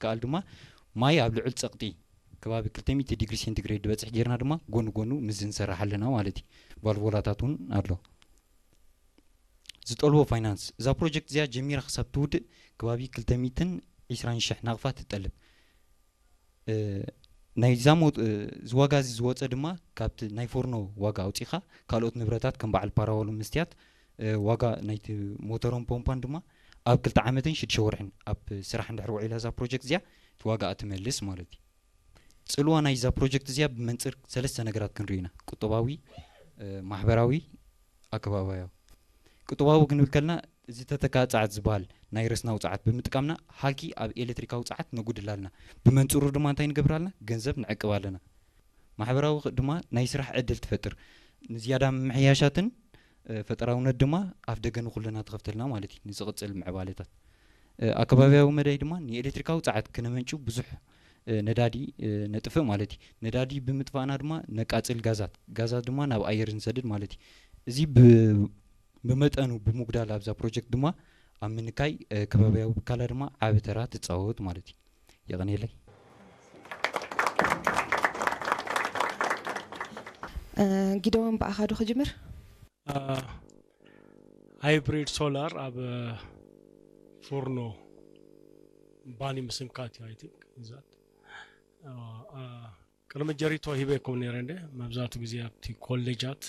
ከኣል ድማ ማይ ኣብ ልዑል ጸቕጢ ከባቢ ክልተ ሚእቲ ዲግሪ ሴንቲግሬድ ዝበጽሕ ጌርና ድማ ጎኑ ጎኑ ምስዚ ንሰርሕ ኣለና ማለት እዩ። ቫልቮላታት እውን ኣሎ። ዝጠልቦ ፋይናንስ፣ እዛ ፕሮጀክት እዚኣ ጀሚራ ክሳብ ትውድእ ከባቢ ክልተ ሚእትን ዕስራን ሽሕ ናቕፋ ትጠልብ። ናይዛ እዚ ዋጋ እዚ ዝወፀ ድማ ካብቲ ናይ ፎርኖ ዋጋ ኣውፂኻ ካልኦት ንብረታት ከም በዓል ፓራወሉ መስትያት ዋጋ ናይቲ ሞተሮን ፖምፓን ድማ ኣብ ክልተ ዓመትን ሽዱሽተ ወርሕን ኣብ ስራሕ እንድሕር ውዒላ እዛ ፕሮጀክት እዚኣ እቲ ዋጋ ትመልስ ማለት እዩ። ፅልዋ ናይዛ ፕሮጀክት እዚኣ ብመንፅር ሰለስተ ነገራት ክንርኢ ኢና። ቁጠባዊ፣ ማሕበራዊ፣ ኣከባቢያዊ። ቁጠባዊ ክንብል ከለና እዚ ተተካ ፃዓት ዝበሃል ናይ ረስናዊ ፃዓት ብምጥቃምና ሃልኪ ኣብ ኤሌክትሪካዊ ፃዓት ነጉድል ኣለና። ብመንፅሩ ድማ እንታይ ንገብር ኣለና? ገንዘብ ንዕቅብ ኣለና። ማሕበራዊ ድማ ናይ ስራሕ ዕድል ትፈጥር። ንዝያዳ ምምሕያሻትን ፈጠራውነት ድማ ኣፍ ደገ ንኩልና ትኸፍተልና ማለት እዩ ንዝቕፅል ምዕባለታት። ኣከባቢያዊ መዳይ ድማ ንኤሌክትሪካዊ ፃዓት ክነመንጭው ብዙሕ ነዳዲ ነጥፍእ ማለት እዩ። ነዳዲ ብምጥፋእና ድማ ነቃፅል ጋዛት፣ ጋዛት ድማ ናብ ኣየር ንሰድድ ማለት እዩ። እዚ ብመጠኑ ብምጉዳል ኣብዛ ፕሮጀክት ድማ ኣብ ምንካይ ከባቢያዊ ብካላ ድማ ዓቢ ተራ ትፃወት ማለት እዩ። የቐንየለይ። ጊደዎን ብኣኻ ዶ ክጅምር? ሃይብሪድ ሶላር ኣብ ፎርኖ ባኒ ምስንካት እዩ። I think is that ቅድሚ ጀሪቶ ሂበኩም ነይረ እንደ መብዛቱ ግዜ ኣብቲ ኮሌጃት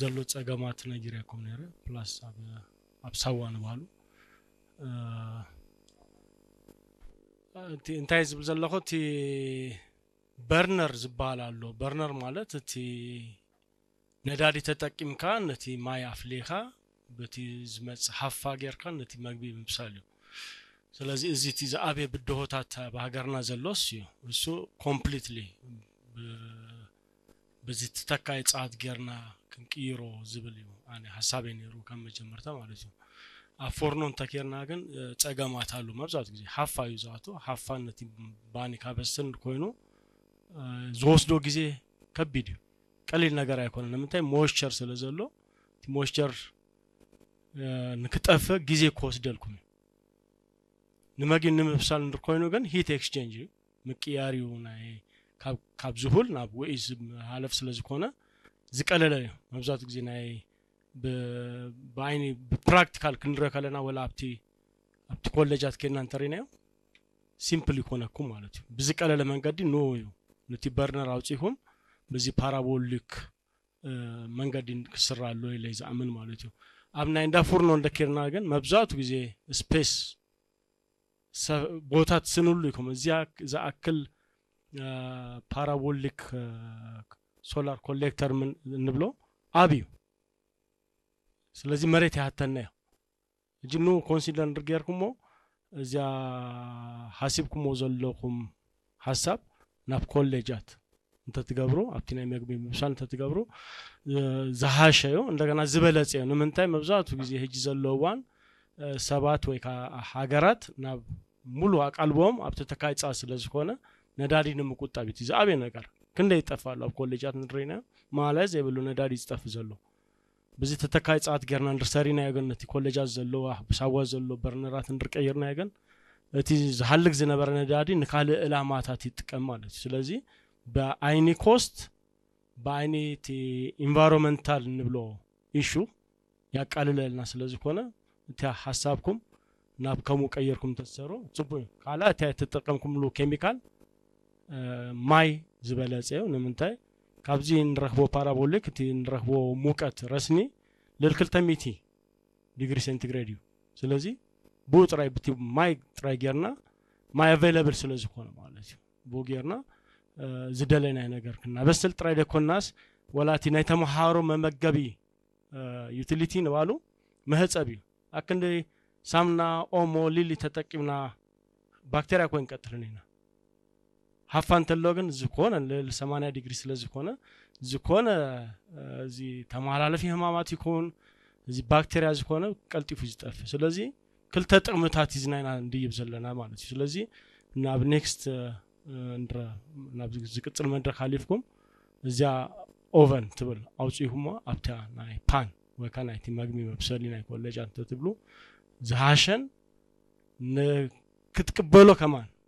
ዘሎ ጸገማት ነጊረኩም ነይረ። ፕላስ ኣብ ኣብ ሳዋ ንባሉ እቲ እንታይ ዝብል ዘለኹ እቲ በርነር ዝበሃል ኣሎ። በርነር ማለት እቲ ነዳዲ ተጠቂምካ ነቲ ማይ ኣፍሊኻ በቲ ዝመጽእ ሃፋ ጌርካ ነቲ መግቢ ምብሳል እዩ። ስለዚ እዚ እቲ ዝኣበየ ብድሆታት ኣብ ሃገርና ዘሎስ እዩ። እሱ ኮምፕሊትሊ በዚ ተተካኢ ጸዓት ጌርና ክንቅይሮ ዝብል እዩ ኣነ ሓሳበይ ነይሩ ካብ መጀመርታ ማለት እዩ። ኣብ ፎርኖ እንተኬርና ግን ጸገማት ኣሉ። መብዛሕትኡ ግዜ ሓፋ እዩ ዝኣቱ። ሓፋን ነቲ ባኒ ካበስል ኮይኑ ዝወስዶ ግዜ ከቢድ እዩ። ቀሊል ነገር ኣይኮነን። ንምንታይ? ሞይስቸር ስለ ዘሎ እቲ ሞይስቸር ንክጠፍእ ግዜ ክወስደልኩም እዩ። ንመግቢ ንምብሳል እንድር ኮይኑ ግን ሂት ኤክስቼንጅ እዩ፣ ምቅያር እዩ። ናይ ካብ ዝሁል ናብ ውዒ ሃለፍ ስለ ዝኾነ ዝቀለለ እዩ። መብዛሕትኡ ግዜ ናይ ብዓይኒ ብፕራክቲካል ክንሪኦ ከለና ወላ ኣብቲ ኣብቲ ኮሌጃት ኬድና እንተሪናዮ ሲምፕል ይኮነኩም ማለት እዩ። ብዝቀለለ መንገዲ ኖ እዩ ነቲ በርነር ኣውፂኹም በዚ ፓራቦሊክ መንገዲ ክስራ ኣሎ ኢለ ዝኣምን ማለት እዩ። ኣብ ናይ እንዳ ፉርኖ እንደኬርና ግን መብዛሕቱ ግዜ ስፔስ ቦታ ትስንሉ ኢኹም። እዚኣ ዝኣክል ፓራቦሊክ ሶላር ኮሌክተር እንብሎ ኣብ እዩ። ስለዚ መሬት ይሃተና እዩ። ሕጂ ኑ ኮንሲደር እንድር ጌርኩሞ እዚኣ ሓሲብኩሞ ዘለኹም ሓሳብ ናብ ኮሌጃት እንተትገብሩ ኣብቲ ናይ መግቢ ምብሳል እንተትገብሩ ዝሃሸ እዩ። እንደገና ዝበለፀ እዩ። ንምንታይ? መብዛሕትኡ ግዜ ሕጂ ዘሎ እዋን ሰባት ወይ ከዓ ሃገራት ናብ ሙሉ ኣቃልቦም ኣብ ተተካይ ፃ ስለ ዝኾነ ነዳዲ ንምቁጣብ እዩ ዝኣበየ ነገር። ክንደይ ይጠፋ ኣሎ ኣብ ኮሌጃት ንሪና ማለት ዘይብሉ ነዳዲ ዝጠፍ ዘሎ ብዚ ተተካይ ጸዓት ጌርና እንድር ሰሪናዮ ግን ነቲ ኮለጃት ዘለዋ ብሳዋ ዘሎ በርነራት እንድር ቀይርናዮ ግን እቲ ዝሃልክ ዝነበረ ነዳዲ ንካልእ ዕላማታት ይጥቀም ማለት እዩ። ስለዚ ብኣይኒ ኮስት ብኣይኒ እቲ ኢንቫይሮንመንታል እንብሎ ኢሹ ያቃልለልና ስለ ዝኾነ እቲ ሓሳብኩም ናብ ከምኡ ቀይርኩም ተሰሩ ጽቡቅ እዩ። ካልእ እቲ ተጠቀምኩምሉ ኬሚካል ማይ ዝበለጸ እዩ። ንምንታይ? ካብዚ ንረኽቦ ፓራቦሊክ እቲ ንረኽቦ ሙቀት ረስኒ ልል ክልተ ሚእቲ ዲግሪ ሴንቲግሬድ እዩ። ስለዚ ብኡ ጥራይ ብቲ ማይ ጥራይ ጌርና ማይ ኣቬይለብል ስለ ዝኾነ ማለት እዩ። ብኡ ጌርና ዝደለናይ ነገር ክናበስል ጥራይ ደኮናስ ወላ እቲ ናይ ተምሃሮ መመገቢ ዩቲሊቲ ንባሉ መህጸብ እዩ። ኣክንዲ ሳምና ኦሞ ሊሊ ተጠቂምና ባክቴርያ ኮይን ቀጥልን ኢና። ሃፋ እንተሎ ግን ዝኾነ ልል ሰማንያ ዲግሪ ስለ ዝኾነ ዝኾነ እዚ ተመሓላለፊ ህማማት ይኹን እዚ ባክቴርያ ዝኾነ ቀልጢፉ ዝጠፍ። ስለዚ ክልተ ጥቕምታት እዚ ናይና እንድይብ ዘለና ማለት እዩ። ስለዚ ናብ ኔክስት እንድረ ናብ ዝቅፅል መድረክ ሃሊፍኩም እዚኣ ኦቨን ትብል ኣውፅኢኹሞ ኣብታ ናይ ፓን ወይ ከዓ ናይቲ መግቢ መብሰሊ ናይ ኮለጃ እንተትብሉ ዝሃሸን ክትቅበሎ ከማን